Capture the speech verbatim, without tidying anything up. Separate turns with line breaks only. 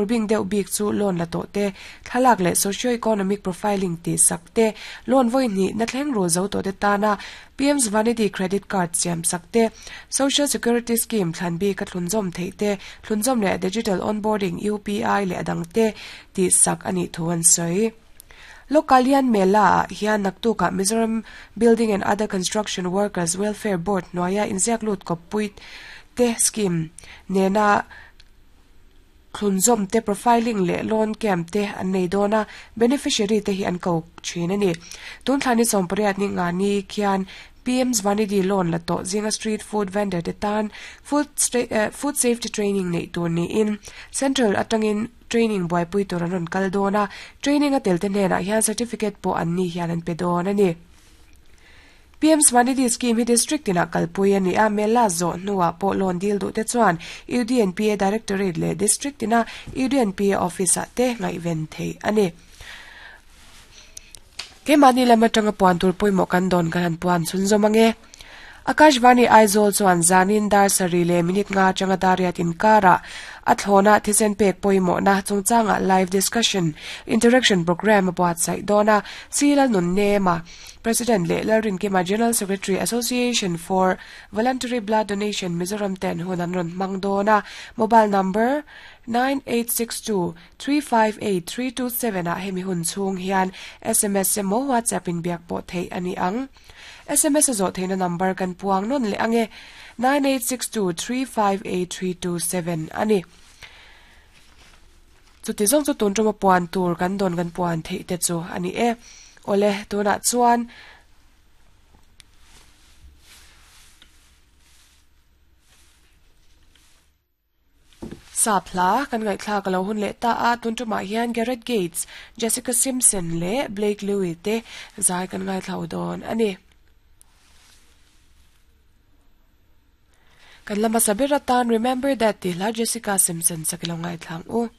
Bing deuh bik chu loan la to te thlalak le socio-economic profiling ti sakte loan voi ni na thleng ro zo to te tana P M SVANidhi credit card siam sakte social security scheme thlan bi ka thlunzom thei te thlunzom le digital onboarding U P I le adang te ti sak ani thuan soi. Lokalian Mela hian naktuka Mizoram Building and Other Construction Workers Welfare Board noya inziak lut kopuit te scheme nena thlunzom te profiling le loan camp te an nei dona beneficiary te hi an ko thin ani tun thlani sompariat ni nga ni khian P M SVANidhi loan la to zinga street food vendor te tan food uh, food safety training nei tur ni in central atangin training boy pui tur an kal dona training a tel te hnen ah hian certificate po an ni hian an pe dawn ani. P M SVANidhi scheme hi district ina kalpui ani a mela zo nuwa po loan deal du te chuan U D N P A Directorate le district ina U D N P A office a te ngai ven thei ani. Ke mani lama tanga puan tur poimo kan don kan han puan chun zomange. Akashvani Aizawl chuan zanin dar sari le minute nga changa dariat inkara athlona thisen pek poimo na chungchanga live discussion interaction program buat sai dona silal nun nema President le Lalrin Kima General Secretary Association for Voluntary Blood Donation Mizoram ten hunan ron mangdona mobile number nine eight six two three five eight three two seven a hemi hun chung hian S M S mo WhatsApp in biak po thei ani ang S M S zo theina number kan puang non le ange nine eight six two three five eight three two seven ani. Chuti zong chu tun tuma puan tur kan don kan puan thei te chu ani e. Ole tuna chuan sapla kan ngai thla ka lo hun le ta a tun tuma hian Garrett Gates, Jessica Simpson le Blake Lewis te zai kan ngai thlau don ani. Kan lama sabira tan Remember That ti la Jessica Simpson sakilong ngai thlang u.